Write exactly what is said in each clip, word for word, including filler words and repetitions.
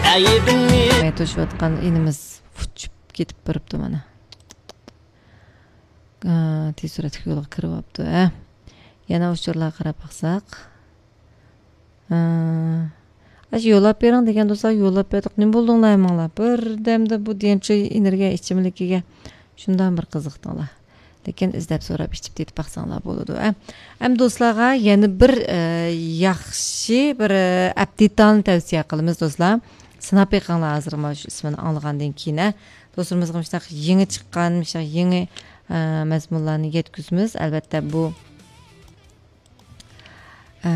ئەيىبىمنى. توشۇۋاتقان ئىنىمىز ئۇچۇپ كېتىپ بېرىپتۇ مانا. ئا، تېز سۈرئەتلىك يولغا كىرىۋاپتۇ، ھە. يەنە ئۇچۇرلارغا قاراپ باقساق. ئا، ئاشۇ يوللاپ بېرىڭ دېگەن دوستلار، يوللاپ بەردۇق. نېمە بولدۇڭلار ھەممىڭلار؟ بىردەمدە بۇ دىيەنچۇ ئېنېرگىيە ئىچىملىكىگە شۇنداق بىر قىزىقتىڭلار. لېكىن ئىزدەپ سوراپ ئىچىپ تېتىپ باقساڭلار بولىدۇ، ھە. ئەمدى دوستلارغا يەنە بىر، ئە، ياخشى بىر، ئە، ئەپتىتالنى تەۋسىيە قىلىمىز، دوستلار. سىناپ بېقىڭلار ھازىر مانا شۇ ئىسمىنى ئاڭلىغاندىن كېيىن، ھە. دوستلىرىمىزغا مۇشۇنداق يېڭى چىققان، مۇشۇنداق يېڭى، ئە، مەزمۇنلارنى يەتكۈزىمىز. ئەلۋەتتە، بۇ، ئە،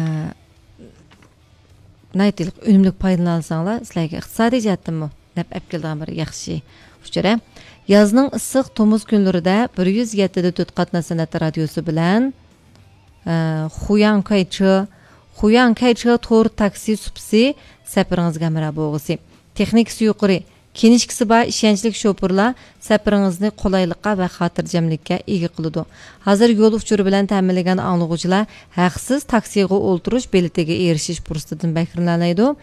ناھايىتى ئۈنۈملۈك پايدىلىنالىساڭلار، سىلەرگە ئىقتىسادىي جەھەتتىنمۇ نەپ ئەپ كېلىدىغان بىر ياخشى ئۇچۇر، ھە. يازنىڭ ئىسسىق تومۇز كۈنلىرىدە بىر يۈز يەتتە دە تۆت قاتناش سەنئەت رادىيوسى بىلەن، ئە، خۇياڭ كايچې، خۇياڭ كايچې تور تاكسى سۇپىسى سەپىرىڭىزگە ھەمراھ بولغۇسى. تېخنىكىسى يۇقىرى، كىنىشكىسى بار ئىشەنچلىك شوپۇرلار سەپىرىڭىزنى قولايلىققا ۋە خاتىرجەملىككە ئىگە قىلىدۇ. ھازىر يول ئۇچۇرى بىلەن تەمىنلىگەن ئاڭلىغۇچىلار ھەقسىز تاكسىغا ئولتۇرۇش بېلىتىگە ئېرىشىش پۇرسىتىدىن بەھرىلىنەلەيدۇ.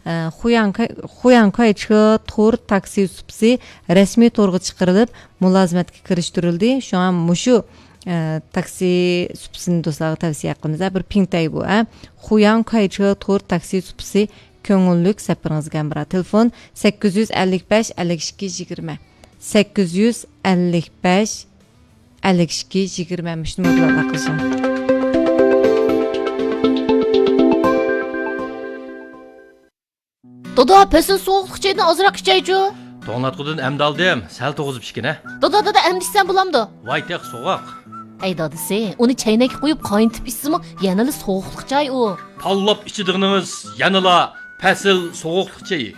ئە، خۇياڭكاي-، خۇياڭكايچې تور تاكسى سۇپىسى رەسمىي تورغا چىقىرىلىپ، مۇلازىمەتكە كىرىشتۈرۈلدى. شۇڭا مۇشۇ، ئە، تاكسى سۇپىسىنى دوستلارغا تەۋسىيە قىلىمىز. ھە، بىر پىڭتەي بۇ، ھە. خۇياڭكايچې تور تاكسى سۇپىسى كۆڭۈللۈك سەپىرىڭىزگە ھەمراھ. تېلېفون سەككىز يۈز ئەللىك بەش، ئەللىك ئىككى، يىگىرمە. سەككىز يۈز ئەللىك بەش، ئەللىك ئىككى، يىگىرمە. مۇشۇ نومۇر بىلەن ئالاقىلىشىڭ. دادا، پەسىل سوغۇقلۇق چايدىن ئازراق ئىچەيچۇ. توڭلاتقۇدىن ئەمدى ئالدىم، سەل توغۇزۇپ ئىچكىنە. دادا، دادا، ئەمدى ئىچسەم بولامدۇ؟ ۋاي، تېخى سوغۇق. ئەي دادىسى، ئۇنى چەينەككە قويۇپ قاينىتىپ ئىچسىمۇ يەنىلا سوغۇقلۇق چاي ئۇ. تاللاپ ئىچىدىغىنىڭىز يەنىلا پەسىل سوغۇقلۇق چېيى.